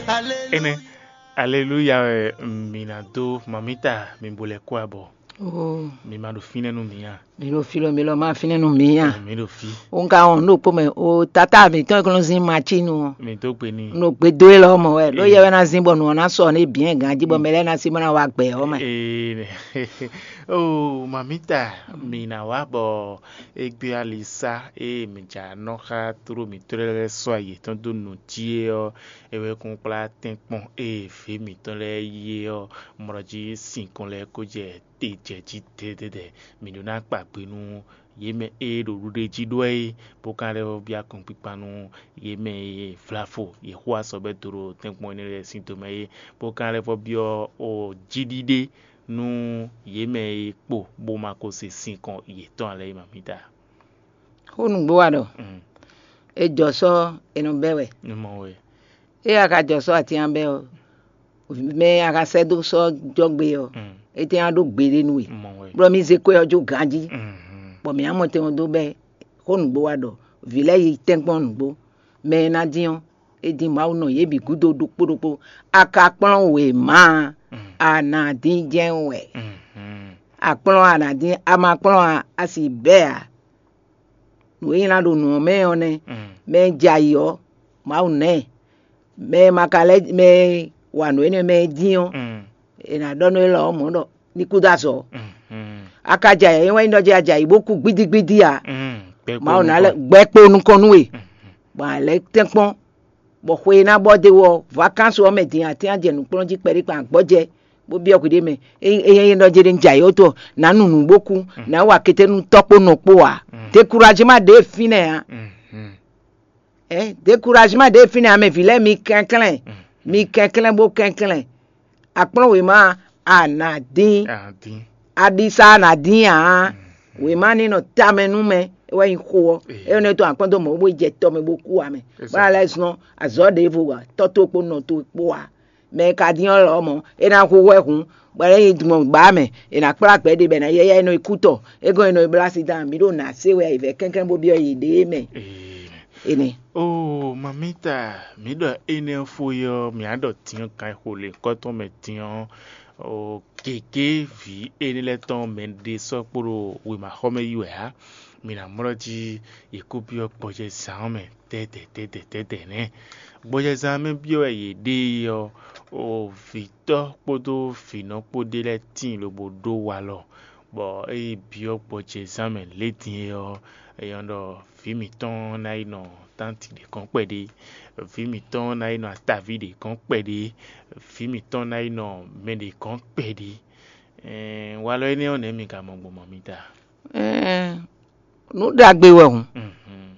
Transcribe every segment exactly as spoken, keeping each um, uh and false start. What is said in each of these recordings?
Énɛ́, aleluya wɛ mǐ ná dó mamíta mi bo lɛ́ kó abɔ. Oo, Mi ma ɖo fínɛ́ nú mǐ a? Mi ɖo fí lɔ, mi lɔ ma fínɛ́ nú mǐ a? Mi ɖo fí. Wo ŋka wɔn nú ɖokpó mɛ o, tata mǐtɔn e kɔn nɔ zín macínu ɔ́. Mi dó gbe n'i. Un ɖo gbe dó e lɔ mɔ wɛ, ɖó yɛ wɛ ná zín bɔ nǔ ɔ́ ná sɔ ní bǐ ganjí bɔ mɛ lɛ́ɛ ná sí bó ná wá gbɛ ɔ́ mɛ. Ee, oo, mamíta, mǐ ná wá bɔ égbé alisá e mǐ ja nɔ xá tló mǐtɔn lɛ́ɛ sɔ́ ayǐ tɔn dó nǔ jí é ɔ́, é wɛ kún kplá tɛ́nkpɔ́n e vǐ mǐtɔn lɛ́ɛ yí é ɔ́, mɔ jí sinkɔn lɛ́ɛ kó jɛ te jɛ jí dɛdɛdɛ. Mǐ ɖó ná kpa gbe nú yě mɛ e ɖo ɖuɖéjí ɖó é, bó ka lɛ́ vɔ́ byɔ́ akɔ́nkpikpa nú yě mɛ e vlavo yě xo azɔ̌ bɛ́ do ɖo tɛ́nkpɔ́n énɛ́ lɛ́ɛ sín tomɛ é, bó ka lɛ́ vɔ́ byɔ́ ɔ jíɖíɖé nú yě mɛ e kpo bó ma ko se sinkɔn yětɔn ǎ lɛ́ɛ é, mamíta. Xó nǔgbó wa ɖɔ: Mm. È jɔ sɔ́ è nɔ bɛ́ wɛ. Un mɔ we. Ée a ka jɔ sɔ́ atín ɔ́ bɛ́ ɔ́, mɛ e a ka sɛ́ dó sɔ́ jɔ gbe ɔ́, Mm. é tɛ́n á ɖó gbeɖé nú we. Un mɔ we. Bɔ mi zé kwɛ́ ɔ́ jó ganjí, Mhm. bɔ mǐ á mɔ tɛn ɔ́ dó bɛ́. Xó nǔgbó wa ɖɔ: Vǐ lɛ́ɛ yi tɛ́nkpɔ́n nǔgbó. Mɛ e ná dín ɔ́, é dín Mawu nɔ yě bǐ gúdo ɖokpó ɖokpó. A ka kplɔ́n wěma a, Mm. a nǎ dín jɛ́n wɛ. Mhm. A kplɔ́n a nǎ dín, a ma kplɔ́n a, a sì bɛ́ ǎ. Nǔ e nylá ɖo nǔ ɔ́ mɛ ɔ́ nɛ́. Mm. Mɛ e jɛ ayǐ ɔ́, Mawu ná ɛ. Mɛ e ma ka lɛ́, mɛ e wa nǔ énɛ́ mɛ e dín ɔ́, Mm. è nǎ ɖɔ nú élɔ́ ɔ́ mɔ̌ ɖɔ ní kú dó azɔ̌. Mm. Mm. A ka jɛ ayǐ, é wɛ nyí ɖɔ jɛ a jɛ ayǐ bó kú gbídígbídí ǎ. Mm. Gbɛgbɛ Mawu ná nukɔn. Lɛ́ gbɛ kpo nukɔn nú we, Mm. bɔ a lɛ́ tɛ́nkpɔ́n, bɔ xwe e ná bɔ dó wɔ vakansu ɔ́ mɛ din atín a jɛ nǔkplɔ́n jí kpɛɖé kpan gbɔjɛ, bó byɔ́ hwiɖée mɛ. Ényí ényí é nyí ɖɔ jɛ ɖe un jɛ ayǐ ótɔ, nǎ nu nǔ bó kú, nǎ wa kété nú tɔ́ kpó nɔ kpó ǎ. Dékurají ma ɖě fínɛ́ ǎ. Ɛ dékurají ma ɖě fínɛ́ ǎ, mɛ vǐ lɛ́ɛ mi kɛnklɛ́n, mi kɛnklɛ́n bó kɛnklɛ́n. Akplɔ́n wěma a nǎ dín, Adín. Aɖisa a nǎ dín ǎ. Wěma ní nɔ tamɛ nú mɛ, é wɛ nyí xó ɔ́. Ee. É nɔ tɔn akpɔ́n dó mɔ̌ bó yi jɛ tɔ mɛ bó kú ǎ mɛ. Bó ná lɛ́ zɔ́n azɔ̌ ɖěvo wa tɔ́ towe kpó nɔ towe kpó ǎ. Mɛ e ka dín ɔ́ lɔmɔ̌, é ná hu hwɛ hun, bɔ é nyí gbɔn gbǎ mɛ, è nǎ kplá gbɛ̌ ɖe bɔ è nǎ yɛ́yɛ́ é nɔ yi kú tɔ. É gɔ́n è nɔ yi bló asi dán, mǐ ɖo nǎ se wɛ yi vɛ̌ kɛnklɛ́n bó byɔ́ yěɖée mɛ. Ee. Énɛ́. Oo, mamíta, mǐ ɖɔ énɛ́ fó é ɔ́, mǐ á ɖɔ din ɔ́, kan e xo lě kɔ́ tɔn mɛ din ɔ́, oo, gěgé vǐ énɛ́ lɛ́ɛ tɔn mɛ ɖé sɔ́ kpo ɖo wěmaxɔmɛ yi wɛ ǎ. Mǐ ná mlɔ́ jí yě kó byɔ́ gbɔjɛzán ɔ́ mɛ tɛ́tɛ́ tɛ́tɛ́ tɛ́tɛ́ nɛ́. Gbɔjɛzán mɛ byɔ́ wɛ yě ɖe é ɔ́, oo, vǐtɔ́ kpódó vǐnɔ kpó ɖé lɛ́ɛ tíin lobo ɖó walɔ, bɔ é yi byɔ́ gbɔjɛzán mɛ lě din é ɔ́, é nyɔ́ ɖɔ vǐ mǐtɔn ná yi nɔ tánti ɖě gɔ́n kpɛɖé, vǐ mǐtɔn ná yi nɔ ataví ɖě gɔ́n kpɛɖé, vǐ mǐtɔn ná yi nɔ mɛ ɖě gɔ́n kpɛɖé. Ɛɛn, walɔ énɛ́ ɔ́ nɛ̌ mi ka mɔ gbɔn mɔ mi ta? Ɛɛn, nǔ ɖagbe wɛ hǔn. Mhm.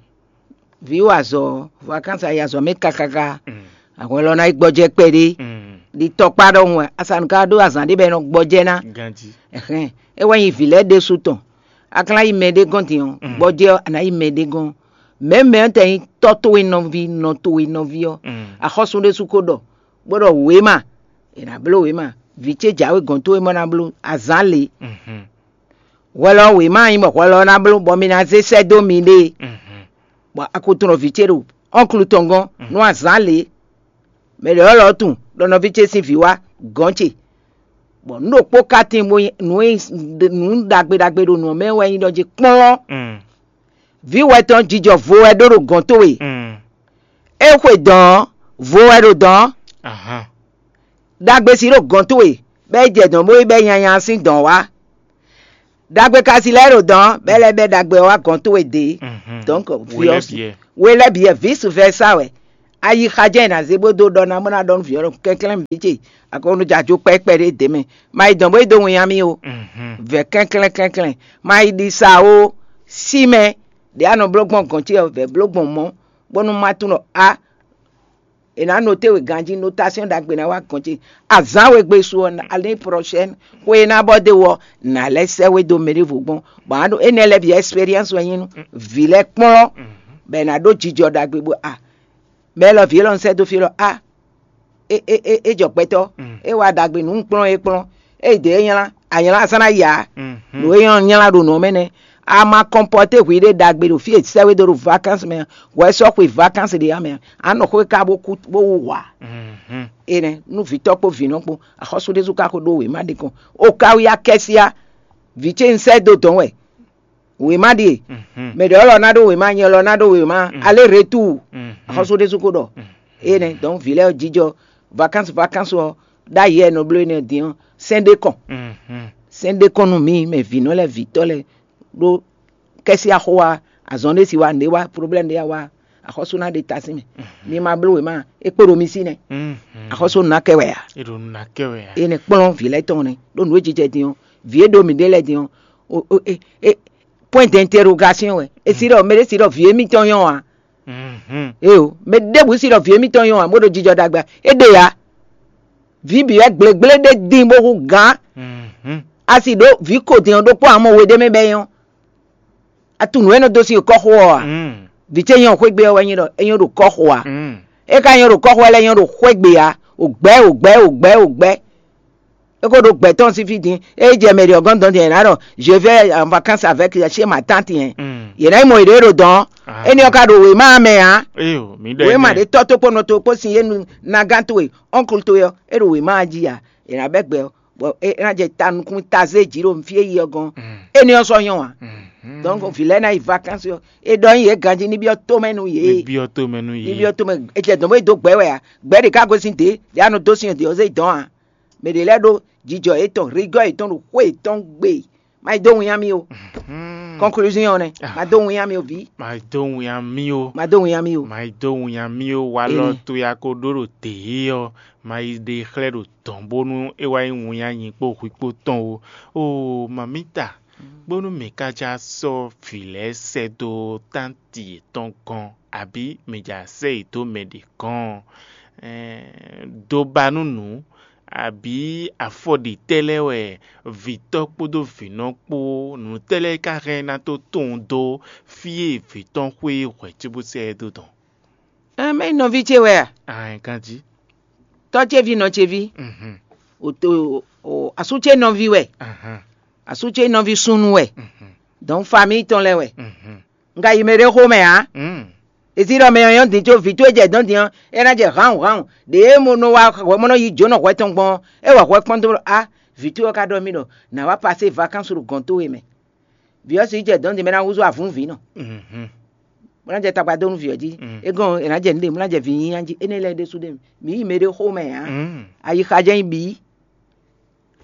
Vǐ wa azɔ̌, vakansi a yi azɔ̌ mɛ kákáká. Mm. Ahwɛ lɔ ná yi gbɔjɛ kpɛɖé. Mm. Ɖi tɔkpá ɖɔhun wɛ, asanu ka ɖó azǎn ɖé bɔ è nɔ gbɔjɛ ná. Ganjí. Ɛhɛn, é wɛ nyí vǐ lɛ́ɛ ɖésú tɔn. A ka ná yi mɛ ɖé gɔ́n din ɔ́, Mm. gbɔjɛ ɔ́, a nǎ yi mɛ ɖé gɔ́n. Mɛ̌ mɛ ɔ́ tɛ nyí tɔ́ towe nɔví, nɔ towe nɔví ɔ́, Mm. axɔ́sú ɖésú ko ɖɔ, bó ɖɔ wěma, è nǎ bló wěma. Vǐ ce jǎwe gɔ̌n towe mɔ ná bló azǎn lě. Mhm. Hwɛ lɔ wěma nyí bɔ hwɛ lɔ ná bló bɔ mi ná zé sɛ́ dó miɖée, Mhm. bɔ a ko tunɔ vǐ ce ɖo ɔ́nklu tɔn gɔ́n, nú azǎn lě. Mɛ ɖě ɔ́ lɔ tunwun ɖɔ nɔví ce sín vǐ wá gɔ̌n ce, bɔ nǔ ɖokpó ka tíin bó nyí nǔ e nǔ ɖagbe ɖagbe ɖo nǔ ɔ́ mɛ wɛ nyí ɖɔ jí kplɔ́n. Mm. Vǐ wɛ tɔn jijɔ vo wɛ ɖó ɖo gɔ̌n towe. Mm. É xwe dɔ̌n ɔ́, vo wɛ ɖo dɔ̌n ɔ́. Ahan. Ɖagbe si ɖo gɔ̌n towe, bɔ é jɛ dɔ̌n bó yi bɛ́ nyanya sín dɔ̌n wá. Ɖagbe ka si lɛ́ɛ ɖo dɔ̌n, bɔ é lɛ́ bɛ́ ɖagbe ɔ́ wá gɔ̌n towe dě. Mhm. Donc, We lɛ́ vice-, bǐ wɛ. We lɛ́ bǐ wɛ, vice versa wɛ. Ayixa jɛ́n è nǎ zé bó dó ɖɔ ná bó ná ɖɔ nú vǐ ɔ́ ɖɔ kɛnklɛ́n vǐ ce, aklúnɔjá jó kpɛ́kpɛ́ ɖé dě mɛ. Ma yi dɔ̌n bó yi dó winnyá mì o. Mhm. Vɛ̌ kɛnklɛ́n kɛnklɛ́n. Ma yi ɖi sa o, sí mɛ ɖě a nɔ bló gbɔn gɔ̌n ce ɔ́, vɛ̌ bló gbɔn mɔ̌, bónú má tunwun ɖɔ a, è nǎ noté we ganjí, notation ɖagbe ná wá gɔ̌n ce. Azǎn we gbe su ɔ́, année prochaine, xwe e ná bɔ dó wɔ, nǎ lɛ́ sɛ́ we dó mɛ ɖěvo gbɔn. Bɔ a ɖo énɛ́ lɛ́ɛ bǐ expérience wɛ nyí nú vǐ lɛ́ɛ kplɔ́n, bɔ è nǎ ɖó jijɔ ɖagbe bó a, mɛ élɔ́ vǐ élɔ́ un sɛ́ dó fí élɔ́ a, é é é é jɔ gbɛtɔ́, é wá ɖagbe nǔ un kplɔ́n é kplɔ́n, é yi dě é nylá, a nylá a sɔ́ ná yi ǎ. Nǔ e nyɔ́ nylá ɖo nǔ ɔ́ mɛ nɛ́. A ma kɔnpɔté hwi ɖé ɖagbe ɖo fí e sɛ́ we dó ɖo vakansi mɛ, hwɛ sɔ́ xwe vakansi ɖé ya mɛ, a nɔ xwé ka bó kú bó wú hwǎ. Énɛ́ nú vǐtɔ́ kpó vǐnɔ kpó, axɔ́sú ɖésú ka xo ɖó wěma ɖé kɔn. O ka wí akɛ́síá, vǐ ce un sɛ́ dó dɔ̌n wɛ. Wěma ɖíe. Mɛ ɖě ɔ́ lɔ ná ɖó wěma, nyɛ lɔ ná ɖó wěma, alé retu. Axɔ́sú ɖésú ko ɖɔ. Énɛ́ dɔn vǐ lɛ́ɛ jijɔ vakansi vakansi ɔ́, ɖ'ayǐ wɛ nɔ bló énɛ́ din ɔ́, sɛ́n ɖé kɔn. Sɛ́n ɖé kɔn nú mǐ mɛ vǐnɔ lɛ́ɛ vǐtɔ́ lɛ́ɛ ɖó kɛ́sí axó wá, azɔn ɖé si wá, nǔɖé wá, problème ɖé wá, axɔ́sú ná ɖe ta sín mɛ. Mi ma bló wěma, é kpo ɖo mi sí nɛ́. Axɔ́sú ná kɛ wɛ a? É ɖo nú ná kɛ wɛ a? Énɛ́ kplɔ́n vǐ lɛ́ɛ tɔn nɛ́ ɖó nǔ e jijɛ din ɔ́, vǐ e ɖo mǐɖée lɛ́ɛ din ɔ́, o- o- e- e- point d'interrogation wɛ. É sí ɖɔ mɛ ɖé sí ɖɔ vǐ émítɔn nyɔ́ a? Éyo, mɛ ɖěbǔ sí ɖɔ vǐ émítɔn nyɔ́ a bó ɖo jijɔ ɖagbe a? É ɖe ǎ. Vǐ bǐ wɛ gblěgblé ɖé dín bó hú gǎn. A sì ɖó vǐ ko din ɔ́ ɖokpó ǎ mɔ we ɖé mɛ bɛ́ nyɔ́. A tunǔ e nɔ dó sín kɔ́xo ɔ́ a? Vǐ ce nyɔ́ xwégbe ɔ́ wɛ nyí ɖɔ é nyɔ́ ɖo kɔ́xo a? É ka nyɔ́ ɖo kɔ́xo wɛ lɛ́ɛ nyɔ́ ɖo xwégbe a? Ò gbɛ́, ò gbɛ́, ò gbɛ́, ò gbɛ́. É ko ɖo gbɛ̌ tɔn sín fí din. É jɛ mɛ ɖě ɔ́ gɔ́n dɔn din, è nǎ ɖɔ je vais en vacances avec chez ma tante yɛn. Yě ná yi mɔ yěɖée ɖo dɔn. Énɛ́ ɔ́ ka ɖo wěma mɛ ǎ. Eyo, mi ɖɔ Wěma ɖě tɔ́ tó kpó nɔ tó kpó sin yé nu nagán towe, ɔ́nklu towe ɔ́, é ɖo wěma jí ǎ. È nǎ bɛ́ gbɛ ɔ́, bɔ é ná jɛ ta nukún ta zé jǐ ɖo fí e yi ɔ́ gɔ́n. Énɛ́ ɔ́ sɔ́ nyɔ́ ǎ. Donc vǐ lɛ́ɛ ná yi vacances ɔ́, é ɖɔ nyí yě ganjí ní byɔ́ tomɛ nú yě. Ní byɔ́ tomɛ nú yě. Ní byɔ́ tomɛ, é jɛ dɔn bó yi dó gbɛ̌ wɛ ǎ. Gbɛ̌ ɖě ká gosín dě, ɖě a nɔ dó sin ɔ́ dě ɔ́ zé dɔn ǎ. Mɛ ɖě lɛ́ɛ ɖó jijɔ yětɔn, rigɔ́ yětɔn ɖo xwé yětɔn gbe. Ma yi dó winnyá mì o. Conclusion ɔ́ nɛ́, ma dó winnyá mì o vǐ. Ma yi dó winnyá mì o. Ma dó winnyá mì o. Ma yi dó winnyá mì o. Walɔ towe a ko ɖó ɖo dě ɔ́, ma yi ɖe xlɛ́ ɖo dɔ̌n bónú é wá nyí winnyá nyi kpó hwi kpó tɔn o. Oo, mamita, bónú mǐ ka já sɔ́ vǐ lɛ́ɛ sɛ́ dó tánti yětɔn gɔ́n, abǐ mǐ já sɛ́ yě dó mɛ ɖě gɔ́n ɔ́, do ba nú nǔ, abǐ afɔɖitɛ́ lɛ́ɛ wɛ vǐtɔ́ kpódó vǐnɔ kpó nǔtɛ́ lɛ́ɛ ka hɛn ná tó tunwun dó fí e vǐ tɔn xwé hwɛ̌ cóbó sɛ́ ɛ dó dɔn? Ɛn mɛ nyí nɔví ce wɛ a? Aɛn ganjí. Tɔ́ ce ví nɔ ce ví. Mhm. O to o asú ce nɔví wɛ. Ahan. Asú ce nɔví súnnu wɛ. Mhm. Donc famille tɔn lɛ́ɛ wɛ. Mhm. Un ka yi mɛ ɖé xomɛ ǎ. Mm. Èsí ɖɔ mɛ ɔ́ nyɔ́ din có vǐ towe jɛ dɔ̌n din ɔ́, é ná jɛ hǎnwǔhǎnwǔ. Ɖě e mo nɔ wá hwɛ mo nɔ yi jǒnɔ hwɛ tɔn gbɔn ɔ́, é wɔ hwɛ kpɔ́n dó ɖɔ á, vǐ towe ɔ́ ka ɖɔ mì ɖɔ nǎ wá pasé vakansu ɖo gɔ̌n towe mɛ. Vǐ ɔ́ sixú jɛ dɔ̌n din bɔ é ná húzú avǔnvǐ nɔ. Mhm. Bó ná jɛ tagba dó nú vǐ ɔ́ jí. Mm. É gɔ́n è nǎ jɛ nǔɖé, bó ná jɛ vǐ nyínyá jí. Énɛ́ lɛ́ɛ ɖésú ɖe mǐ yi mɛ ɖé xomɛ ǎ. Mm. Ayixa jɛ́n nyí bǐ.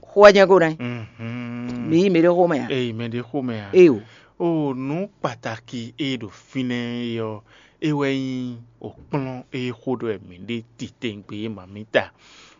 Xó wɛ jɛ́n ko ná nyí. Mhm. Mǐ yi mɛ ɖé xomɛ ǎ. Eyi mɛ ɖé xomɛ ǎ. Eyo. O nǔ kpataki e ɖo fínɛ́ é ɔ́, é wɛ nyí o kplɔ́n e xó ɖɔ wɛ mǐ ɖe titewungbe é mamǐta.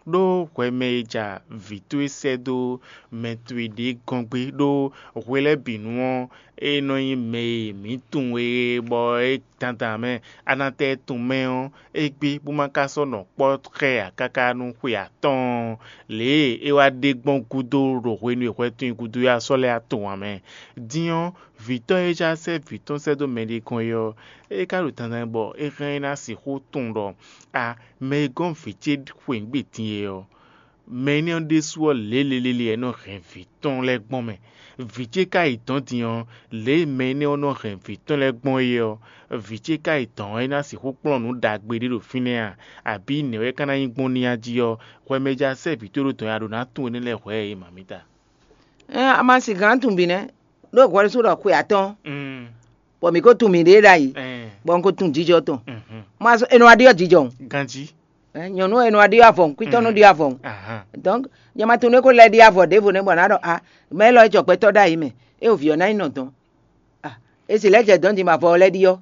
Ɖó hwɛ mɛ e ja vǐ towe sɛ́ dó mɛ towe ɖě gɔ́n gbé ɖó hwe lɛ́ɛ bǐ nu ɔ́, é nɔ nyí mɛ e mǐ tunwun e bɔ é dandan mɛ a nɔ tɛ tunwun mɛ ɔ́, égbé bó ma ka sɔ́ nɔ kpɔ́ xɛ ǎ káká nú xwe atɔ́ɔ́n, lě e é wá ɖe gbɔn gúdo ɖo hwenu e hwɛ tɔn nyi gúdo é wá sɔ́ lɛ́ wá tunwun ǎ mɛ. Din ɔ́, vǐtɔ́ e já sɛ́ vǐ tɔn sɛ́ dó mɛɖé gɔ́n é ɔ́, é ka ɖo dandan bɔ é hɛn ná sixú tunwun ɖɔ a mɛ e gɔ́n vǐ ce xweyǐgbe din é ɔ́, mɛ énɛ́ ɔ́ ɖésú ɔ́ lě lélélé wɛ é nɔ hɛn vǐ tɔn lɛ́ɛ gbɔn mɛ. Vǐ ce ka yi dɔ̌n din ɔ́, lě e mɛ énɛ́ ɔ́ nɔ hɛn vǐ tɔn lɛ́ɛ gbɔn é ɔ́, vǐ ce ka yi dɔ̌n ɔ́, é ná sixú kplɔ́n nǔ ɖagbe ɖé ɖo fínɛ́ a? Abǐ nɛ̌ wɛ é ka ná nyí gbɔn n'i a jí ɔ́, hwɛ mɛ e ja sɛ́ vǐ towe ɖó dɔ̌n ɔ́, a ɖǒ ná tunwun énɛ́ lɛ́ɛ hwɛ̌ ǎ é, mamǐta? Ɛn a ma sin gǎn tunwun bǐ nɛ́, ɖó hwɛ ɖésú ɖɔ xwe atɔ́ɔ́n, Mm. bɔ mǐ ko tunwun mǐɖée ɖ'ayǐ, Ɛn. bɔ un ko tunwun jijɔ tɔn. Mhm. Ma sɔ́ è nɔ wá ɖyɔ́ jijɔ o. Ganjí. Ɛn, nyɔ̌nu e nɔ wá ɖyɔ́ avɔ, kwítɔ́ nɔ Mm. ɖyɔ́ avɔ. Ahan. Donc, nyɛ ma tunwun é ko lɛ́ ɖyɔ́ avɔ ɖěvo nɛ́ bɔ ná ɖɔ a, mɛ élɔ́ é jɔ gbɛtɔ́ ɖ'ayǐ mɛ, é o vǐ ɔ́ ná nyí nɔ dɔn. A, é si lɛ́ jɛ dɔ̌n din bɔ avɔ ɔ́ lɛ́ ɖyɔ́.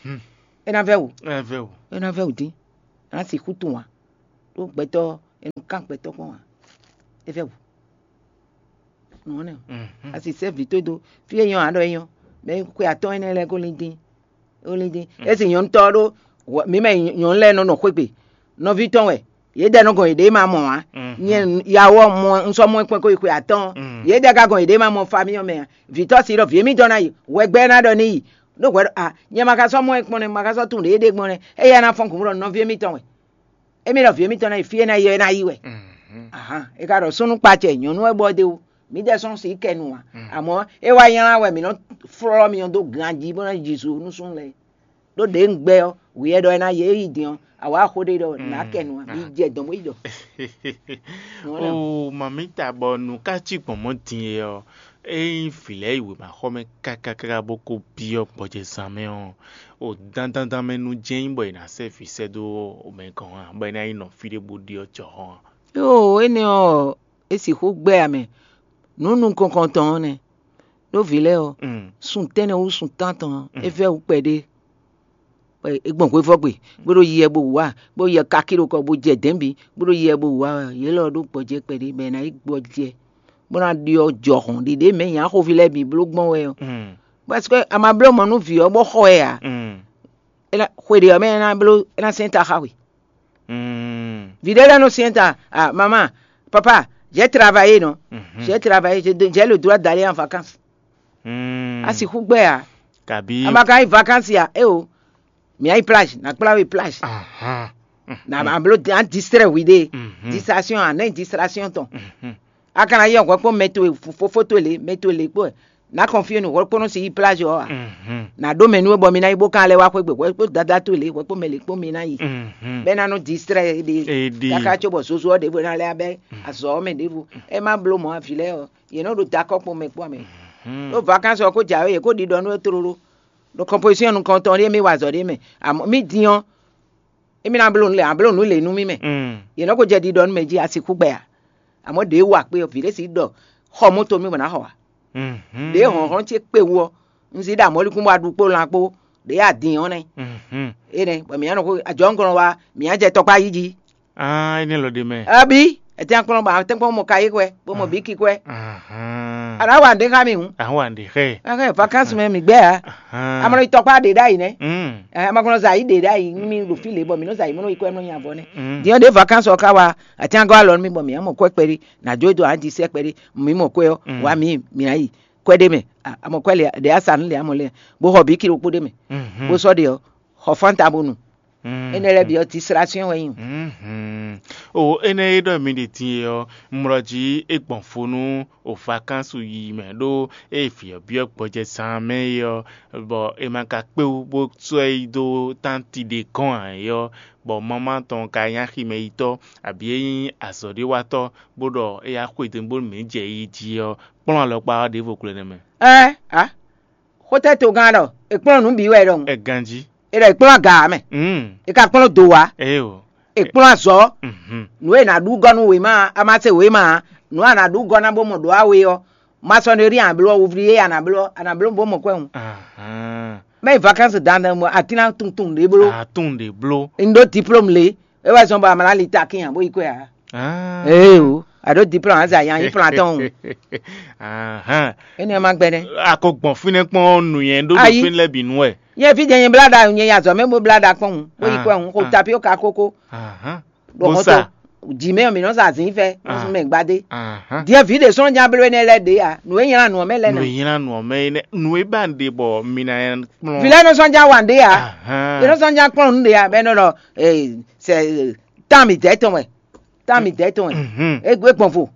Hmm. É ná vɛ́ wǔ. Ɛ vɛ o. É ná vɛ́ wǔ dín. É ná sixú tunwun ǎ. Ɖó gbɛtɔ́, è nɔ kán gbɛtɔ́ kpɔ́n ǎ. É vɛ́ wǔ. Nǔ ɔ́ nɛ́ o. Mhm. A si sɛ́ vǐ towe dó. Fí e nyɔ́ ǎ ɖɔ é nyɔ́. Mɛ xwe atɔ́ɔ́n énɛ́ lɛ́ɛ ko lín dín. Ó lín dín. Mhm. É si nyɔ̌nu tɔ́ ɖó. Mǐ mɛ nyɔ̌nu lɛ́ɛ nɔ nɔ xwé gbe. Nɔví tɔn wɛ. Yědɛɛ nɔ gɔn yěɖée ma mɔ ǎ. Mhm. Nyɛ yawo ɔ́ mɔ un sɔ́ mɔ ɛ kpɔ́n kó yi xwe atɔ́ɔ́n. Mhm. Yědɛɛ ka gɔn yěɖée ma mɔ famille ɔ́ mɛ ǎ. Vǐ tɔ́ si ɖɔ vǐ émítɔn ná yi. Hwɛgbɛ́ ná ɖɔ n'i yi. Ɖó hwɛ ɖɔ a, nyɛ ma ka sɔ́ mɔ ɛ kpɔ́n nɛ́, ma ka sɔ́ tunwun ɖě é ɖe gbɔn nɛ́. Éyɛ́ ná fɔ́n gǔmlɔ nɔví émítɔn wɛ. Émí ɖɔ vǐ émítɔn ná yi fí e ná yi ɔ́, é ná yi wɛ. Mhm. Ahan, é ka ɖɔ súnnu kpa acɛ nyɔ̌nu wɛ bɔ ɖe o. Mǐ ɖɛ sɔ́ sixú kɛ nu ǎ. Mm. Amɔ̌ é wá nylá wɛ mǐ nɔ flɔ́ mì ɔ́ dó ganjí bó ná ji su nú súnnu lɛ́ɛ. Ɖó ɖě un gbɛ́ ɔ́, wǐ wɛ ɖɔ é ná yě yi din ɔ́, a wǎ xó ɖé ɖɔ nǎ kɛ nu ǎ, mi jɛ dɔ̌n bó yi ɖɔ. Oo, mamǐta, bɔ nǔ ka cí gbɔn mɔ̌ din é ɔ́, ényí vǐ lɛ́ɛ yi wěmaxɔmɛ káká káká bó ko byɔ́ gbɔjɛzán mɛ ɔ́, o dandandan mɛ nu jɛ́n nyí bɔ è nǎ sɛ́ vǐ sɛ́ dó mɛ gɔ́n ǎ, bɔ é ná yi nɔ fí ɖé bó ɖyɔ́ jɔhɔn ǎ. Yoo, énɛ́ ɔ́, é sixú gbɛ́ ǎ mɛ. Nǔ nukɔn tɔn ɔ́ nɛ́. Ɖó vǐ lɛ́ɛ ɔ́, sun tɛ́nnɛ wú sun tántɔn ɔ́, é vɛ́ wú kpɛɖé. È gbɔn hwevɔ́gbe, bó ɖo yiɛ bó wǔ wá, bó yiɛ kakí ɖo kɔ, bó jɛ dɛ̌n bǐ, bó ɖo yiɛ bó wǔ wá wɛ, yě lɔ ɖó gbɔjɛ́ kpɛɖé bɔ è nǎ yi gbɔjɛ́, bó ná ɖyɔ́ jɔhɔn ɖiɖe mɛ nyǎ xóví lɛ́ɛ bǐ bló gbɔn wɛ ɔ́. Parce que a ma bló mɔ̌ nú vǐ ɔ́ bó xɔ ɛ ǎ. É ná xwe ɖě ɔ́ mɛ é ná bló é ná sɛ́n ta xá we. Vǐ ɖé lɛ́ɛ nɔ syɛ́n ta, ah, maman, papa, j'ai travaillé, non? J'ai travaillé, j'ai de- j'ai le droit d'aller en vacances. A sixú gbɛ ya. Kabi. A ma ka yi vacances ya, eh o. Mi ayi plage, na kpla we plage. Ahan. Na ma blo an distraire we de. Distraction, an ne distraction tɔn. A kana yi hwɛ kpɔn mɛ towe, fofo towe le, mɛ towe le kpɔ. Na confier nu hwɛ kpɔn si yi plage ɔ. Na ɖo mɛ nu bɔ mi na yi bo kan lɛ wa xwegbe hwɛ kpɔ dada towe le, hwɛ kpɔ mɛ le kpɔ mi na yi. Bɛ na nɔ distraire de. Kaka tso bɔ zozo ɔ ɖevo na lɛ abɛ azɔ ɔ mɛ ɖevo. E ma blo mɔ avi lɛ ɔ. Yě nɔ ɖo dakɔ kpɔn mɛ kpɔn mɛ. Ɖo vacances ɔ ko dza yě ko ɖiɖɔ nú tlóló. Ɖo composition nukɔntɔn ɖé mi wa azɔ ɖé mɛ. Amɔ mi din ɔ, émí ná bló nǔ lě, a bló nǔ lě nú mì mɛ. Yě nɔ ko jɛ ɖiɖɔ nú mɛ jí a sixú gbɛ a? Amɔ̌ ɖě wa kpé ɔ́, vǐ ɖé si ɖɔ xɔ mɔto mì bɔ ná xɔ a? Ɖě hlɔ̌nhlɔ́n ce kpé wú ɔ́, un zí ɖo amɔ̌likún bɔ a ɖu kpó lan kpó, ɖě a din ɔ́ nɛ́. Énɛ́ bɔ mǐ ná nɔ xó ajɔ̌ngɔ́n wa, mǐ ná jɛ tɔkpá yí jí. Aa, énɛ́ lɔ ɖe mɛ. Abi, ètè akplɔ́n bɔ atɛ́nkpɔ́n mɔ kayé kwɛ, bó mɔ bǐ ki kwɛ. Ahan. A nǎ wa nǔɖé xá mì hǔn. Ahɔn wa nǔɖé xɛ. Ɛhɛn, vacances mɛ mǐ gbɛ a? Ahan. A ma nɔ yi tɔkpá ɖě ɖ'ayǐ nɛ́. Mm. Ɛ, a ma ko nɔ zɛ ayǐ ɖě ɖ'ayǐ nú mì ɖo fí lě bɔ mǐ nɔ zɛ ayǐ mɔ nɔ yi kwɛ nɔ nyi avɔ nɛ́. Mm. Din ɔ́ ɖě vacances ɔ́ ka wá, atɛ́n gɔ́ alɔ nú mì bɔ mǐ ná mɔ kwɛ kpɛɖé, nǎ jó dó ǎ jí sɛ́ kpɛɖé, mǐ mɔ kwɛ ɔ́, wǎ mǐ mǐ ná yi kwɛ ɖé mɛ, a mɔ kwɛ lě ɖě a sa nú lě a mɔ lɛ, bó xɔ bǐ ki ɖokpó ɖé mɛ, bó sɔ́ ɖe ɔ́, xɔ fánta bó nu. Énɛ́ lɛ́ɛ bǐ ɔ́, distraction wɛ nyí. O énɛ́ e ɖɔ mi ɖe din e ɔ́, un mlɔ jí é gbɔn fó nú o vacances yiyi mɛ ɖó ée vǐ ɔ́ byɔ́ gbɔjɛzán mɛ é ɔ́, bɔ è ma ka kpé wú bó sɔ́ ɛ yi dó tánti ɖé gɔ́n ǎ é ɔ́, bɔ mamá tɔn ka nyí aximɛyitɔ́, abǐ é nyí azɔ̌ɖéwatɔ́, bó ɖɔ é yá xwedó bónú mǐ jɛ yi jí ɔ́, kplɔ́n alɔkpa ɔ́ ɖěvo gbló énɛ́ mɛ. Ɛɛ a xótɛ́ togán ɖɔ è kplɔ́n nǔ bǐ wɛ ɖɔhun. Ɛ ganjí. È ɖɔ è kplɔ́n aga ǎ mɛ. Mm. È ka kplɔ́n do wá. Eo. È kplɔ́n azɔ̌. Mhm. Nǔ e è nǎ ɖú gɔ́ nú wěma ɔ́, a ma se wěma ǎ. Nǔ e a nǎ ɖú gɔ́ ná bó mɔ ɖǒ a we ɔ́, masɔneri a nǎ bló ɔ́, wuvlí e a nǎ bló ɔ́, a nǎ bló bó mɔ kwɛ́ hǔn. Ahan. Mɛ yi vacances dandan mɔ atín ná tunwun tunwun ɖě bló. A tunwun ɖě bló. Un ɖó diplôme lě. É wɛ zɔn bɔ a ma ná li takín ǎ bó yi kwɛ ǎ. Ah. Ee o, a ɖó diplôme a zɛ ayan yi plan tɔn o. Ahan. Énɛ́ ma gbɛnɛ. A ko gbɔn fínɛ́ kpɔ́n nǔnywɛ́ ɖó ɖo Ayi. Fínɛ́ lɛ́ɛ bǐ nu wɛ. Nyɛ fí jɛ nyɛ blá ɖa nyɛ ya zɔ mɛ bó blá ɖa kpɔn hǔn bó yi Ah. Kwɛ hǔn xo Ah. Tapioka kókó. Ahan. Ɖo Bó hɔn sa. To jǐ mɛ ɔ́ mǐ nɔ sa zǐn fɛ Ah. Mɛ gbadé. Ahan. Diɛ vǐ ɖě sɔ́ nya bló énɛ́ lɛ́ɛ ɖě a nǔ e nylá nǔ ɔ́ mɛ lɛ́ɛ Nǔ nɛ. E nylá nǔ ɔ́ mɛ é nɛ́, nǔ e ba un ɖe bɔ mi ná kplɔ́n. Vǐ lɛ́ɛ nɔ sɔ́ nya wa nǔɖé a? Ahan. È nɔ sɔ́ nya kplɔ́n nǔɖé a bɛ nɔ ɖɔ eh, sɛ tán mi dɛ̌ tɔn wɛ. Tán mi dɛ̌ tɔn wɛ. Mhm. E gbɔn vo.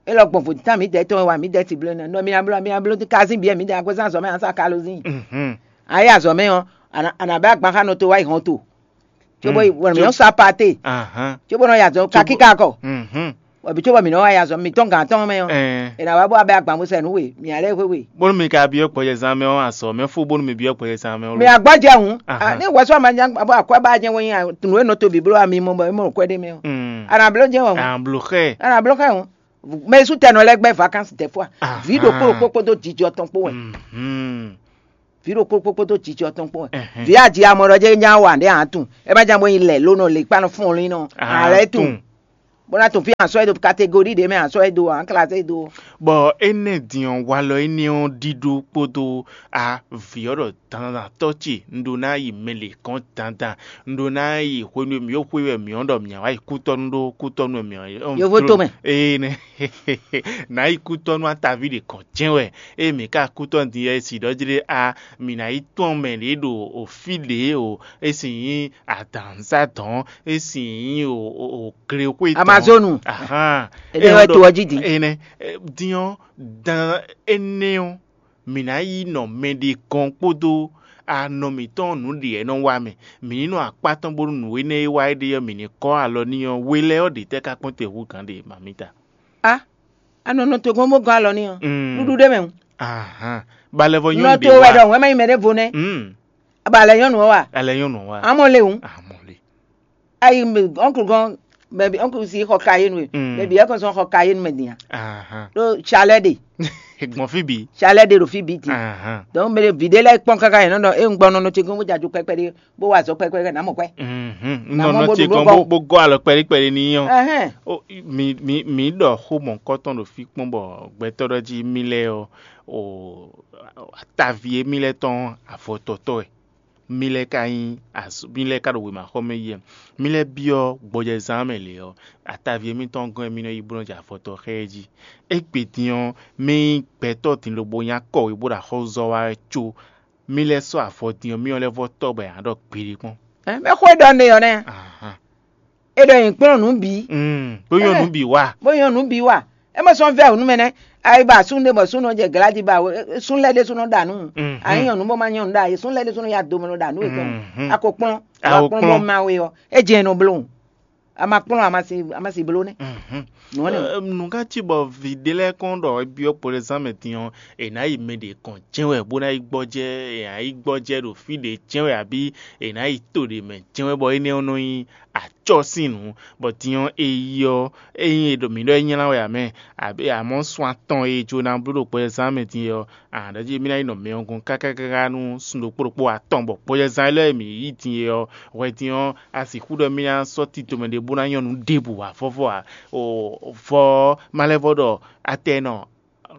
E lɔ gbɔn vo tán mi dɛ̌ tɔn wɛ wa mi dɛ̌ ti bló nɛ. Nɔ mi na bló mi na bló kazín bǐ mi dɛ̌ agbésán azɔ̌ mɛ ansa kalozín. Mhm. Ayé azɔ̌ mɛ ɔ́, a nǎ bɛ́ agban xá nɔ to wá yi hɔn to. Cóbó yi wɔ mǐ nɔ sa pate. Ahan. Cóbó nɔ yi azɔ̌ kakíka kɔ. Mhm. Wɔ̌bi cóbɔ mǐ nɔ wá yi azɔ̌ mǐtɔn gǎn tɔn mɛ ɔ́. Ɛɛ. È nǎ wá bó wá bɛ́ agban bó sɛ nǔ we, mǐ ná lɛ́ xwé we. Bónú mi ka byɔ́ gbɔjɛzán mɛ ɔ́, azɔ̌ mɛ fó bónú mi byɔ́ gbɔjɛzán mɛ ɔ́. Mǐ agbɔ́ jɛ hǔn. Ahan. Ní wɛ̌ sɔ́ ma nya bɔ akwɛ́ ba jɛ́n wɛ nyi nǔ e nɔ to bǐ bló ami mɔ bɔ é mɔ kwɛ́ ɖé mɛ ɔ́. Mm. A nǎ bló jɛ́n wɛ hǔn. A nǎ bló xɛ. A nǎ bló xɛ hǔn. Mɛ e sú tɛ nɔ lɛ́ gbɛ́ vacances des fois. Ahan. Vǐ ɖokpó ɖokpó kpódó jijɔ tɔn kpó wɛ. Mhm. Vǐ ɖokpó kpókpó dó jijɔ tɔn kpɔ́n wɛ. Vǐ aji amɔ ɖɔ jɛ nya wa ɖe a tún. E ma jan bo nyi lɛ lónɔ le kpa nɔ fún ɔlín nɔ. A lɛ tún. Bó ná tún fí ansɔ e do catégorie ɖe mɛ ansɔ e do an classe e do. Bɔ énɛ́ din ɔ́, walɔ énɛ́ ɔ́ ɖíɖó kpódó a vǐ ɔ́ ɖɔ dandan tɔ́ ce un ɖó ná yi mɛ lě kɔn dandan, un ɖó ná yi hwenu e mǐ ɖo xwé wɛ mǐ ɔ́ ɖɔ mǐ wá yi kútɔ́nú ɖó kútɔ́nú wɛ mǐ ɔ́. Yovo to mɛ. Ee nɛ. Nǎ yi kútɔ́nú ataví ɖě kɔn jɛ́n wɛ. Ée mǐ ka kú tɔn din ɔ́, é si ɖɔ jlé a, mǐ ná yi tɔ́n mɛ ɖě ɖo o fí ɖě o, é si nyí adǎnzá dɔn, é si nyí o o o glexwé dɔn. Amazonu. Ahan. Ene wɛ to ɔ́ jí din. Ene din ɔ́ dan énɛ́ ɔ́ mǐ ná yi nɔ mɛ ɖé gɔ́n kpódó anɔ mǐtɔn nǔɖiɖi e nɔ wa mɛ. Mǐ ní nɔ akpá tɔn bónú nǔ énɛ́ e wa é ɖe ɔ́, mǐ ní kɔ́ alɔ n'i ɔ́, we lɛ́ɛ ɔ́ ɖě tɛ́ ka kpɔ́n te hú gǎn ɖe mamita? A anɔ nɔ to gbɔn bó gɔ́ alɔ n'i ɔ́, ɖuɖu ɖé mɛ hǔn. Ahan, balɛvɔ Nɔ nyɔ́nu to ɖě wɛ wa. Ɖɔ wɛn má yi mɛ ɖé vo nɛ́. Mm, Aba lɛ nyɔ́nu ɔ́ wa. Alɛ nyɔ́nu wa. Amɔ le hǔn. Amɔle. Ayi ɔnklu gɔn bɛbi ɔnklu si xɔ ka yé nu e. Mm. Bɛbi ɛkɔ sɔn xɔ ka yé nu mɛ din ya. Ahan. Ɖo tsalɛ ɖe. Gbɔn fí bi. Tsalɛ ɖe ɖo fi bi din. Ahan. Donc mɛ ɖe vi ɖé lɛ kpɔn káká yɛn nɔ ɖɔ e ŋgbɔ nɔ nɔ ce gbɔn bó dza jo kpɛkpɛ ɖé bó wa azɔ kpɛkpɛ ná mɔ kwɛ. Mhm. Na Nɔ mɔ nɔ bó ce ɖu kɔn nú bó bó gɔ́ alɔ kpɛɖí kpɛɖí ní yɔn. Ɛhɛn. O, mi mi mi ɖɔ xó mɔ̌kɔtɔn ɖo fí kpɔ́n bɔ gbɛtɔ́ ɖɔ jí mì lɛ́ɛ ɔ́, o atavi e mì lɛ́ɛ tɔn avɔtɔtɔ wɛ. Mì lɛ́ɛ ka nyí azɔ mì lɛ́ɛ ka ɖo wěmaxɔmɛ yi wɛ. Mì lɛ́ɛ byɔ́ gbɔjɛzán mɛ lě ɔ́, atavi e mì tɔn gɔ́n e mì nɔ yi bó nɔ jɛ avɔtɔ xá ɛ jí. Égbé din ɔ́, mì nyí gbɛtɔ́ din lobo nyá kɔwé bó ɖo axɔ́zɔ wá wɛ có. Mì lɛ́ɛ sɔ́ avɔ din ɔ́, mì ɔ́ lɛ́ vɔ tɔ́ bɔ è nǎ ɖɔ gbeɖé kpɔ́n. Ɛ, mɛ xó e ɖɔ ne ɔ́ nɛ. Ahan. E ɖɔ nyi kplɔ́n nǔ bǐ. Mm, bó nyɔ́ Ɛ. nǔ bǐ wa. Bó nyɔ́ nǔ bǐ wa. E mɔ sɔn vɛ nǔ mɛ nɛ́. Ayi ba sún ɖé bɔ sún nɔ jɛ gladi ba sún lɛ́ ɖé sún nɔ ɖa nǔ. Mhm. Ayi nyɔ́ nǔ bó ma nyɔ́ nǔ ɖa. Sún lɛ́ ɖé sún nɔ ya do mɛ nɔ ɖa nǔ yětɔn. Mhm. A ko kplɔ́n. A A ko kplɔ́n kplɔ́n. bɔ ma we ɔ. E jɛ nɔ bló. A ma kplɔ́n a ma si a ma si bló nɛ́. Mhm. Nǔ ɔ́ nɛ. Ɛ, nǔ ká cí bɔ vǐ ɖé lɛ́ɛ kɔn ɖɔ é byɔ́ kpɔɖézán mɛ din ɔ́, è nǎ yi mɛ ɖě kɔn jɛ́n wɛ bó ná yi gbɔjɛ́, è nǎ yi gbɔjɛ́ ɖo fí ɖě jɛ́n wɛ abǐ è nǎ yi to ɖě mɛ jɛ́n wɛ bɔ énɛ́ ɔ́ nɔ nyí acɔ́ sín nǔ, bɔ din ɔ́ é yi ɔ́, ényí è ɖo mǐ ɖɔ é nylá wɛ ǎ mɛ, abǐ amɔ̌ sun atɔn e è jló ná bló ɖo kpɔjɛzán mɛ din é ɔ́, a nǎ ɖɔ jí émí ná yi nɔ mɛ ɔ́ gɔ́n káká káká nú sun ɖokpó ɖokpó atɔn bɔ kpɔjɛzán élɔ́ e mǐ yí din é ɔ́, hwɛ din ɔ́, a sixú ɖɔ émí ná sɔ́ tito mɛ ɖé bó ná nyɔ́ nǔ ɖěbǔ wǎ vɔ́vɔ́ ǎ. O vɔ ɔ́, ma lɛ́ vɔ ɖɔ atɛ nɔ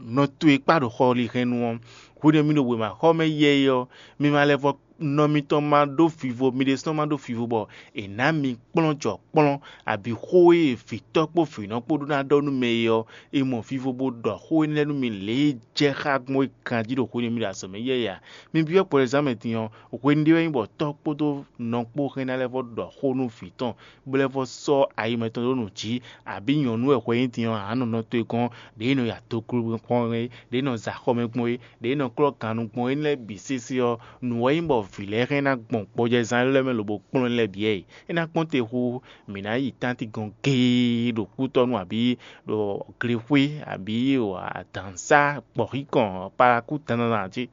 nɔ towe kpá ɖo xɔlihɛnnu ɔ́, hwenu e mi ɖo wěmaxɔmɛ yɛyɛ ɔ́, mi ma lɛ́ vɔ nɔ mitɔn ma ɖó vivo, mi ɖésúnɔ ma ɖó vivo bɔ è nǎ mi kplɔ́n jɔ kplɔ́n, abǐ xó e vǐtɔ́ kpó vǐnɔ kpó ɖó ná ɖɔ nú mɛ é ɔ́, è mɔ vivo bó ɖɔ xó énɛ́ lɛ́ɛ nú mi lě e jɛ xá gbɔn é ganjí ɖo hwenu e mi ɖo azɔ̌ mɛ yɛyɛ ǎ. Mi byɔ́ kpɔɖézán mɛ din ɔ́, hwenu ɖé wɛ nyí bɔ tɔ́ kpódó nɔ kpó hɛn ná lɛ́ vɔ ɖɔ xó nú vǐ tɔn, bó lɛ́ vɔ sɔ́ ayi mɛtɔn ɖó nǔ jí, abǐ nyɔ̌nu wɛ hwɛ nyí din ɔ́, ǎ nɔ nɔ towe gɔ́n, ɖě nɔ ya do glógbɛ́n kpɔ́n é, ɖě nɔ za xɔmɛ gbɔn é, ɖě nɔ klɔ́ gannú gbɔn é lɛ́ɛ bǐ sésé ɔ́, nǔ wɛ nyí bɔ vǐ lɛ́ɛ hɛn ná gbɔn gbɔjɛzán élɔ́ mɛ lobo kplɔ́n lɛ́ɛ bǐ ɛ. É ná kpɔ́n te hú mǐ ná yi tánti gɔn géé ɖo kútɔ́nú abǐ ɖo glexwé abǐ ɖo adǎnsá gbɔ̌xíkɔn palakú dandan jí.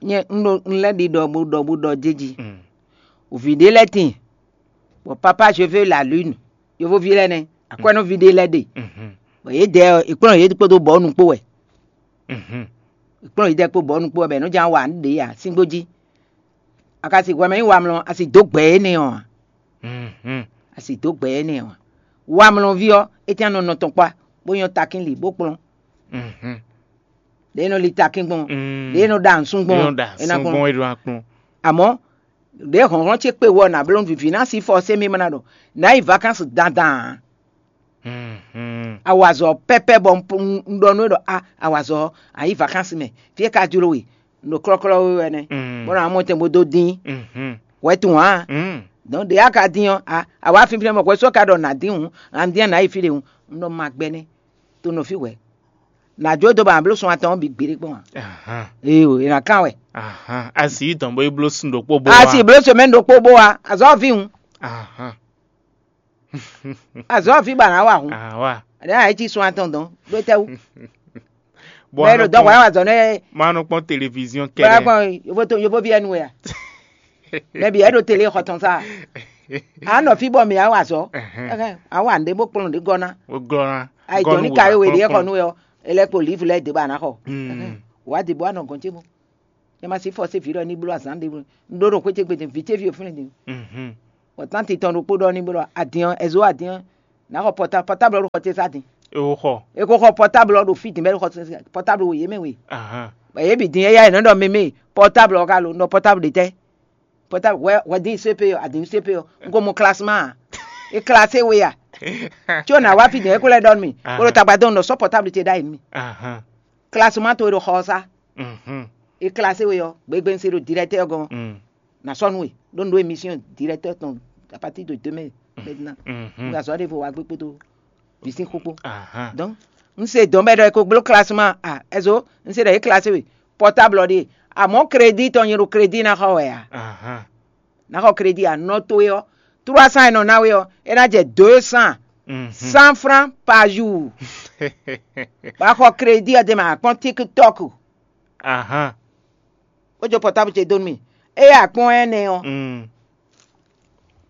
Nyɛ un ɖo un lɛ́ ɖi ɖɔ bó ɖɔ bó ɖɔ jéji. Mm. Vǐ ɖé lɛ́ɛ tíin, bɔ papa je veux la lune, yovoví lɛ́ɛ nɛ́, akwɛ́nɔví ɖé lɛ́ɛ ɖe, Mhm. bɔ yě dɛ ɔ́, è kplɔ́n yě kpódó bɔ̌nu kpó wɛ. Mhm. È kplɔ́n yě dɛ kpó bɔ̌nu kpó wɛ bɔ è nɔ ján wa nǔ ɖě ǎ, síngbó jí. A ka si hwɛ mɛ nyí wamlɔ, a si dǒ gbɛ énɛ́ ɔ́ ǎ. Mhm. A si dǒ gbɛ énɛ́ ɔ́ ǎ. Wamlɔví ɔ́, é tɛ́n nɔ nɔ tɔn kpá, bó nyɔ́ takín lǐ bó kplɔ́n. Mhm. Ɖě nɔ li takín gbɔn, Mm. ɖě nɔ ɖa nǔsún gbɔn, Yɔn da é ná sún kplɔ́n. gbɔn é ɖo akplɔn. Àmọ́ ɖěe hlɔ̌nhlɔ́n ce kpe wɔ nǎ bló vǐví ná sí fɔ sé mí ma ná ɖɔ nǎ yi vacances dandan ǎ. Mhm. Awazɔ pɛpɛ bɔ un ɖɔ nú é ɖɔ a awazɔ a yi vacances mɛ fí é ka jló we ɖo klɔ́klɔ́ we wɛ nɛ́. Mm. Bɔ nǎ mɔ tɛn bó dó dín Mhm. wɛ tun ǎ. Mm. Donc ɖě a ka dín ɔ́ a a wǎ fínfín mɛ hwɛ sɔ́ ka ɖɔ nǎ dín hǔn a dín nǎ yi fí ɖé hǔn un ɖɔ ma gbɛ nɛ́ to nɔ fí wɛ. Nǎ jó dó ba nǎ bló sun atɔn ɔ́ bǐ gbeɖé kpɔ́n ǎ. Ahan. Ee o, è nǎ kán wɛ. Ahan. A sì yi dɔn bó yi bló sun ɖokpó bó A wa. sì bló semaine ɖokpó bó wa azɔ̌ ví hǔn. Ahan. Azɔ̌ ví ba nǎ wa hǔn. Awa. Ɖé a yě cí sun atɔn dɔn ɖó tɛ́ wú. Bɔ Bɛ́ ɖo dɔn hwɛ wá zɔ nɛ. Ma nɔ kpɔn télévision Bɛ́ kɛɖɛ. kpɔn yovo to yovo ví ɛnu wɛ a. Mɛ bǐ ɛ ɖo télé xɔ tɔn sa. A nɔ fí bɔ mǐ á wa azɔ̌. Ɛhɛn. Ɛhɛn, a wa nǔɖé bó kplɔn nǔɖé gɔ́ ná. Wo glɔ́ ná. A yi dɔn ní kayó we ɖě xɔ nú wɛ ɔ, e lɛ́ kpo livre lɛ́ dě ba ná xɔ. Ɛhɛn, wǎ dě bó a nɔ gɔn ce mɔ. Yɛ ma sí fɔsé vǐ ɖɔ ní bló azǎn ɖé bló. Un ɖó ɖo xwé ce gbe din, vǐ ce ví o flɛ́n din. Mhm. Bɔ tánti tɔn ɖokpó ɖɔ ní bló adin ɔ́, ɛzo adin ɔ́, nǎ xɔ pɔta pɔtáblu ɔ́ ɖo xɔ ce sá din. E wo xɔ. E ko xɔ pɔtáblu ɔ́ ɖo fí din bɛ ɖo xɔ pɔtáblu wo yě mɛ we. Ahan. Bɔ yě bǐ din éyá yě nɔ ɖɔ mɛ mɛ pɔtáblu ɔ́ ka lo, nɔ pɔtáblu ɖe tɛ́. Pɔtáblu hwɛ hwɛ dín C P ɔ, adin C P ɔ, un ko mɔ klasma a? E klase we a? Tso nǎ wá fí din é ko lɛ́ ɖɔ nú mì. Bó ɖo tagba dɔn nɔ sɔ́ pɔtáblu ce ɖ'ayǐ nú mì. Ahan. Klasma towe ɖo xɔ ɔ́ sá. Mhm. E klase we ɔ́, gbegbe un se ɖo dirɛtɛ́ ɔ́ gɔ́n. Mm. Na sɔ́ nú we ɖó un ɖó émission directeur tɔn à partir de demain maintenant. Mhm. Un azɔ̌ ɖěvo wa gbé kpódó vǐ sín xó kpó. Ahan. Donc un se dɔn bɛ ɖɔ e ko gbló classement a ɛzo un se ɖɔ é classé we portable ɔ́ ɖíe. Amɔ̌, crédit tɔn nyɛ ɖo crédit ná xɔ wɛ ǎ. Ahan. Ná xɔ crédit ǎ, nɔ towe ɔ́, trois cents e nɔ ná we ɔ́, é ná jɛ deux cents, Mhm. cent francs par jour. Bɔ a xɔ crédit ɔ́ d'é mɛ, a kpɔ́n TikTok, Ahan. Bó jó portable ce dó nú mì. Eye a kpɔ́n ɛnɛ ɔ́, Mm.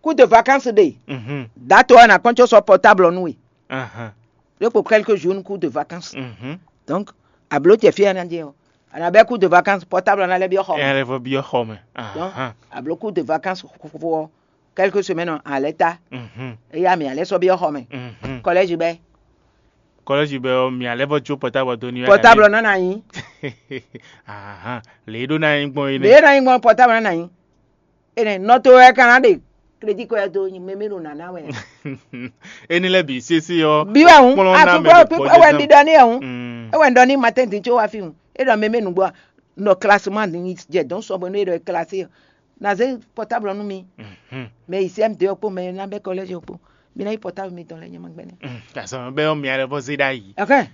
Cours de vacances ɖe, Mhm. Date ɔ́, a nǎ kpɔ́n có sɔ́ portable ɔ́ nú we. Ahan. Ɖé kpo quelques jours nú cours de vacances. Mhm. Donc, a blǒ jɛ fí e a nǎ jɛ ɔ́, a nǎ bɛ́ cours de vacances, portable ɔ́ ná lɛ́ byɔ́ xɔ mɛ. Ɛ lɛ́ vɔ byɔ́ xɔ mɛ. Donc, Ahan. A blǒ cours de vacances fó ɔ́, quelques semaines ɔ́, a lɛ́ ta. Mhm. Eye a mì a lɛ́ sɔ́ byɔ́ xɔ mɛ. Mhm. Collège bɛ́. Collège bɛ́ ɔ́, mì a lɛ́ vɔ jó portable dó ní wɛ. Portable ɔ́ ná nyi. Ahan. Lě e ɖó ná nyí gbɔn é Lě nɛ́. E ná nyí gbɔn portable ná nyi. Énɛ́ nɔ to wɛ ka ná ɖe crédit kɔ ɛ dó nyi mɛmɛ ɖo nǎ ná wɛ. Éní lɛ́ɛ bǐ sésé ɔ́, Bí wɛ hǔn, kplɔ́n ná mɛ akúgbɔ ɖo kpíkpé gbɔjɛ́ wɛ tán. Ɖi ɖɔ ní ɛ hǔn. Mm. É wɛ ɖɔ ní matin dín có wá fi hǔn. É ɖɔ mɛmɛ nǔgbó a, nɔ classement ní jɛ dɔn sɔ bɔ nú é ɖɔ é classé ɔ́. Nà zé portable ɔ́ nú mi. Mhm. Mɛ yi C M deux ɔ́ kpó mɛ ná bɛ́ collège ɔ́ kpó. Mi ná yi portable mitɔn lɛ́ɛ nyɛ ma gbɛnɛ. Mm. Azɔn bɛ ɔ́ mi alɛ vɔ zé ɖ'ayǐ. Ɛhɛn.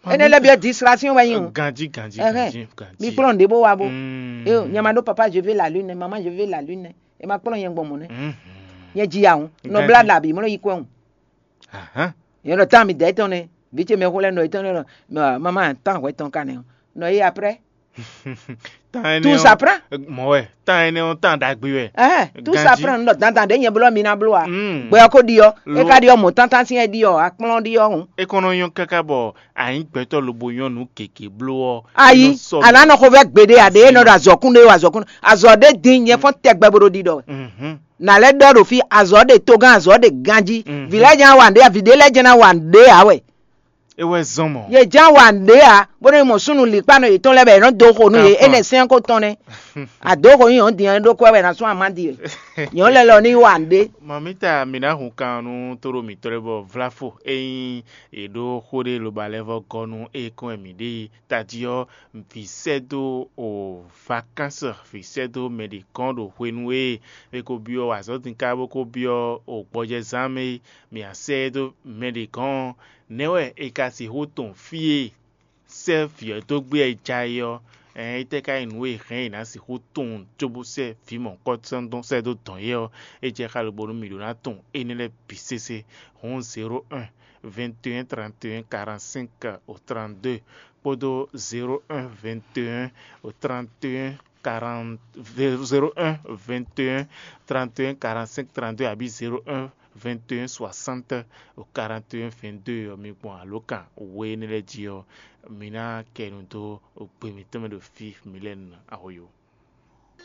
Énɛ́ lɛ́ɛ byɔ́ distraction wɛ nyí o. Ganjí, ganjí, Ɛhɛn. Ganjí, ganjí. Mi kplɔ́n ɖě bó wa bó. Mm. Eo, nyɛ ma ɖó papa, je vais la lune, maman, je vais la lune. E ma kplɔ́n nyɛ gbɔn mɔ̌ nɛ́. Mhm. Nyɛ ji ya hǔn. Nɔ Ganjí. Blá ɖa bǐ, mɔ nɔ yi kwɛ́ hǔn. Ahan. Nyɛ ɖɔ tán mi dɛ̌ tɔn nɛ́. Vǐ ce mɛ xó lɛ́ɛ nɔ yi tɔn nɛ́ ɖɔ, mɛ maman tán hwɛ tɔn ka nɛ́ ɔ́. Nɔ yi après. Tán énɛ́ Tout ɔ́, ça prend. Mɔ̌ wɛ. Tán énɛ́ ɔ́, tán ɖagbe wɛ. Ɛhɛn, tout ça Ganjí. Prend, nɔ dandan ɖě nyɛ blɔ mi ná bló a. Mm. Gbɛ ɔ́ ko ɖi ɔ́, é Lo- ka ɖi ɔ́ mɔ̌ tántán sín é ɖi ɔ́, akplɔ́n ɖi ɔ́ hǔn. É kɔn nɔ nyɔ́ káká bɔ a nyǐ gbɛtɔ́ lobo nyɔ́ nǔ gěgé bló ɔ́, Ayi, é nɔ sɔ́ a nǎ nɔ xo vɛ gbeɖé a ɖě é nɔ ɖo azɔ̌ kún ɖé o, azɔ̌ kún azɔ̌ ɖé din nyɛ fɔ́n tɛgbɛ bo ɖo ɖiɖɔ wɛ. Mhm. Nǎ lɛ́ ɖɔ ɖo fí, azɔ̌ ɖe togán, azɔ̌ ɖe ganjí. Mhm. Vǐ lɛ́ɛ jɛ́n ná wa nǔɖé a, vǐ ɖé lɛ́ɛ jɛ́n ná wa nǔɖé ǎ wɛ. É wɛ zɔ́n mɔ̌. Yě ján wa nǔɖé ǎ, bónú mɔ súnnu lǐkpánɔ yětɔn lɛ́ɛ bɔ è nɔ́ dó xo nú yě, Kanfɔ́n. Énɛ́ sɛ́n ko tɔn nɛ́. A dǒ xo nú yě ɔ́ din ɔ́, é ɖó kwɛ́ wɛ ná sú amá din wɛ. Yě ɔ́ lɛ́ lɔ ní wa nǔɖé. Mamita, mǐ ná hun kan nú tóɖó mǐtɔn lɛ́ɛ bɔ Vlafo ényí è ɖó xó ɖé loba lɛ́ vɔ gɔ́ nú é kɔn wɛ mǐ ɖe tají ɔ́, vǐ sɛ́ dó o vacances, vǐ sɛ́ dó mɛ ɖě kɔn ɖo hwenu e è ko byɔ́ azɔ̌ din ká bó ko byɔ́ o gbɔjɛzán mɛ é, mǐ a sɛ́ ɛ dó mɛ ɖě gɔ́n ɔ́, nɛ̌ wɛ è ka sixú tunwun fí e sɛ́ vǐ ɔ́ dó gbé ɛ ja é ɔ́? Ɛɛn, étɛ́ ka nyí nǔ e hɛn è nǎ sixú tunwun cóbó sɛ́ vǐ mɔ̌hunkɔtɔn dɔn sɛ́ dó dɔn é ɔ́? É jɛ xá lobo nú mǐ ɖó ná tunwun énɛ́ lɛ́ɛ bǐ sésé. Hǔn zéro un, vingt et un, trente et un, quarante-cinq au trente-deux kpódó zéro un, vingt et un, au trente et un, quarante, zéro un, vingt et un, trente et un, quarante-cinq, trente-deux abǐ zéro un, vingt et un, soixante, quarante et un, vingt-deux ɔ́, mi gbɔn alǒkan we énɛ́ lɛ́ɛ jí ɔ́, mi ná kɛ nu dó gbe mǐtɔn mɛ ɖo fí mi lɛ́ɛ nu ahoyo.